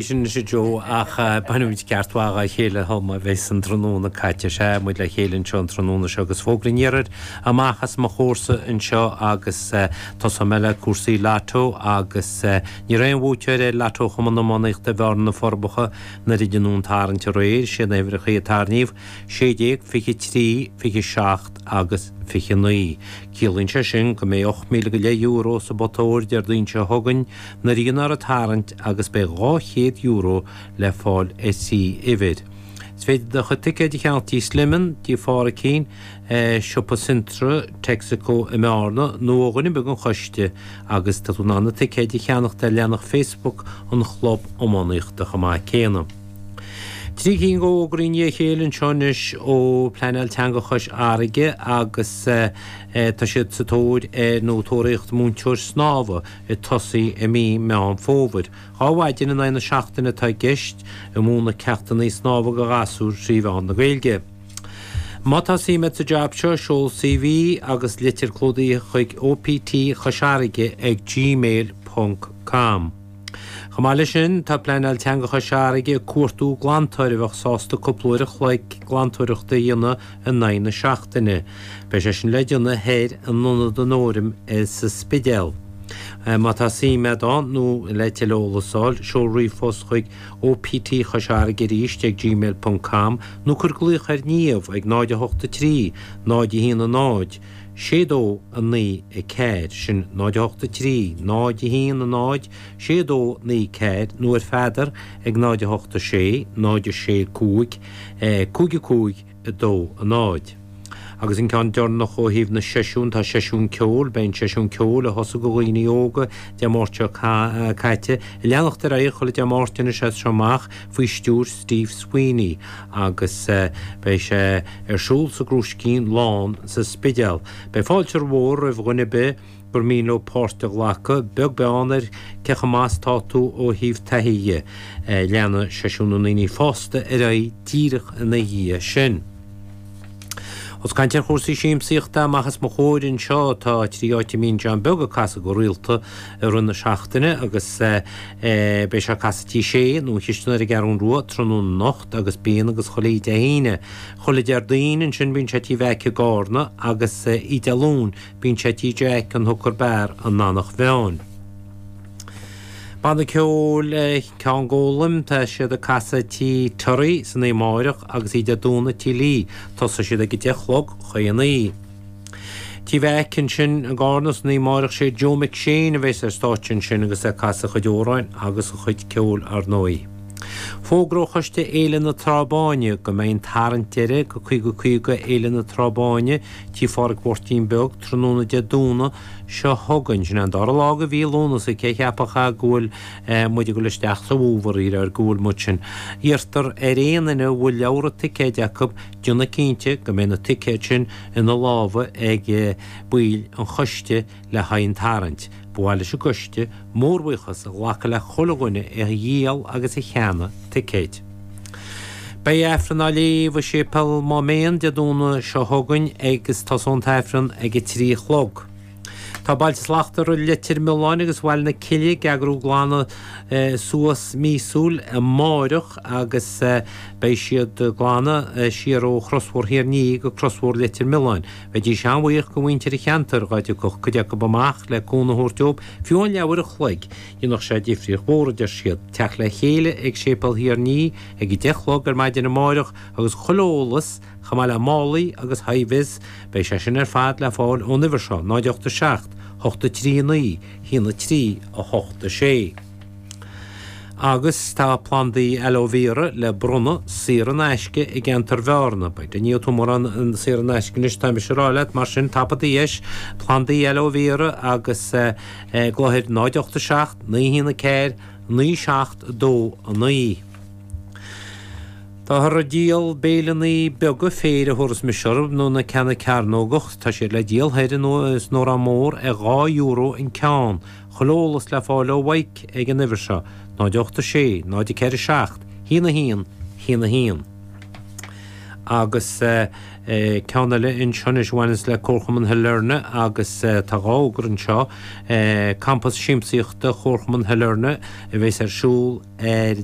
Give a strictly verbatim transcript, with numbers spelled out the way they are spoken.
Sin sé Joe ach bainimid ceart mhaith dá chéile thom a bheas an tráthnóna caite. Sea, muid le chéile anseo an tráthnóna seo agus fógra an iarthair amach as mo chomhairsa anseo agus tosóidh mé le cúrsaí Lotto agus ní raibh aon bhuaiteoir ar Lotto Chumann Iománaíochta Bhearna na Forbacha nuair a deineadh an tarraingt aréir. Sé na huimhreacha a tarraingíodh, sé déag, fiche trí, fiche seacht agus fiche naoi. Ciallaíonn sé sin go mbeidh ocht míle go leith euro sa bpota óir Déardaoin seo chugainn nuair a dhéanfar an tarraingt agus beidh dhá chéad euro le fáil ar thrí uimhir. Is féidir do chuid ticéid a cheannach tí Sliman, tí Phádraicín, Siopa Centra, Texaco i mBearna nó ó dhuine ar bith den choiste agus tá tú in ann na ticéid a cheannacht ar leathanach Facebook an Chlub Iománaíochta chomh maith céanna. Trí cinn de fhógraí i ndiaidh a chéile anseo anois ó Pleanáil Teanga Chois Fharraige agus tá siad sa tóir ar nó tóraíocht múinteoir snámha ag tosaí i mí Meán Fómhair. Dhá mhaidin in aghaidh na seachtaine atá i gceist ag múineadh ceachtanna snámha do ghasúir trí mheán na Gaeilge. Má tá suim agat sa jab seo, seol CV agus litir clúdaithe chuig OPT Chois Fharraige ag gmail ponc com. Chomh maith leis sin, tá Pleanáil Teanga Chois Fharraige ag cuartú glantóir a bheadh sásta cúpla uair a chloig glantóireachta a dhéanamh in aghaidh na seachtaine. Beidh sé sin le déanamh thoir in Ionad an Fhóraim sa Spidéal. Má tá suim agat ann nó le tuilleadh eolas a fháil, seol ríomhphost chuig OPT Chois Fharraige arís ag gmail ponc com nó cuir glaoch ar Niamh ag náid a hocht a trí, náid a haon a náid, sé dó a naoi a ceathair, sin náid a hocht a trí, náid a haon a náid, sé dó naoi ceathair, nó ar Pheadar ag náid a hocht a sé, náid a sé cúig, cúig a cúig, a dó a náid. Agus an ceann deireanach ó thaobh na seisiún, tá seisiún ceoil, beidh an seisiún ceoil a thosaigh do dhaoine óga Dé Máirt seo caite, ag leanacht ar aghaidh chuile Dé Máirt anois as seo amach faoi stiúir Steve Sweeney agus beidh sé ar siúl sa gCrúiscín Lán sa Spidéal. Beidh fáilte mhór roimh dhuine ar bith gur mian leo páirt a ghlacadh, beag beann ar cé chomh maith is atá tú ó thaobh taithí dhe. Leanfaidh seisiún na ndaoine fásta ar aghaidh díreach ina dhiaidh sin. Ós caint ar chúrsaí siamsaíochta amach os mo chomhair anseo, tá trí áit a mbíonn John Beag ag casadh go rialta i rith na seachtaine agus beidh sé ag casadh Tí Sé nó an Chistin ar an gCeathrú Rua tráthnóna anocht agus bíonn agus chuile Dé hAoine. Chuile Déardaoin ansin bíonn sé Tí Mheaic i gCarna agus oíche Dé Luain bíonn sé Tí Jack an Hooker Bar in Eanach Mheáin. Banna ceoil Ceann Gólaim, tá siad ag casadh Tí Terry san oíche amáireach agus oíche Dé Domhnaigh Tí Lee. Tosóidh siad ag a deich a chlog chaon oíche. Tí Mheaic ansin i gCarna san oíche amáireach sé Joe McShane a bheas ar stáitse ansin agus é ag casadh a chuid amhráin agus a chuid ceoil ar ndóigh. Fógra ó Choiste Fhéile na Trá Báine go mbeidh an tarraingt deiridh go caoga caoga Fhéile na Trá Báine Tí Phádraig Mháirtín Beag tráthnóna Dé Domhnaigh seo chugainn. Sin é an dara lá de mhí Lúnasa, cé cheapfadh go bhfuil muid ag dul isteach sa bhfómhar ar go bhfuil muid sin. Iarrtar ar aon duine a bhfuil leabhra ticéid acu déanamh cinnte go mbeidh na ticéid sin ina lámha ag baill an choiste le haghaidh an tarraingt. Ba mhaith leis an gcoiste mórbhuíochas a ghlacadh le chuile dhuine a dhíol agus a cheannaigh ticéid. Beidh Aifreann á léamh i Séipéal Máméan Dé Domhnaigh seo chugainn agus tosóidh an tAifreann ag a trí a chlog. Tá Bailte Slachtmhara Leitir Mealláin agus Bhaile na Cille ag eagrú glanadh suas míosúil amáireach agus beidh siad ag glanadh siar ó Chrosbhóthar Thír an Fhia go Crosbhóthar Leitir Mealláin. Bheidís an-bhuíoch go mhuintir an cheantair dhá dtiocfadh cuid acu amach le cúnamh a thabhairt dóibh, fiú amháin leathuair a chloig. Dhéanfadh sé difríocht mhór, a deir siad. Teacht le chéile ag Séipéal Thír an Fhia ag a deich a chlog ar maidin amáireach agus chuile eolas, chomh maith le málaí agus hi-vis, beidh sé sin ar fad le fáil ón uimhir seo, náid ocht a seacht, hocht a trí a naoi, haon a trí, a hocht a sé. Agus tá plandaí aloe vera le bronnadh saor in aisce i gceantar Bhearna. B'fhéidir ní tú mórán saor in aisce anois, tá mise ag rá leat, mar sin tapaigh do dheis, plandaí aloe vera agus glaoigh ar náid ocht a seacht, naoi haon a ceathair, naoi seacht dó a naoi. Táthar ag díol béileanna beaga féir a thabharfas mise orthu, nó na ceanna cearnógach. Tá siad le díol thoir in san Órán Mór ar dhá euro an ceann. Chuile eolas le fáil ó Mhaidhc ag an uimhir seo, náid ocht a sé, náid a ceithre seacht, haon a haon, haon a haon. Agus ceann eile anseo anois a bhaineas le Comharchumann Shailearna agus tá dhá fhógra anseo, Campas Siamsaíochta Chomharchumann Shailearna a bheas ar siúl ar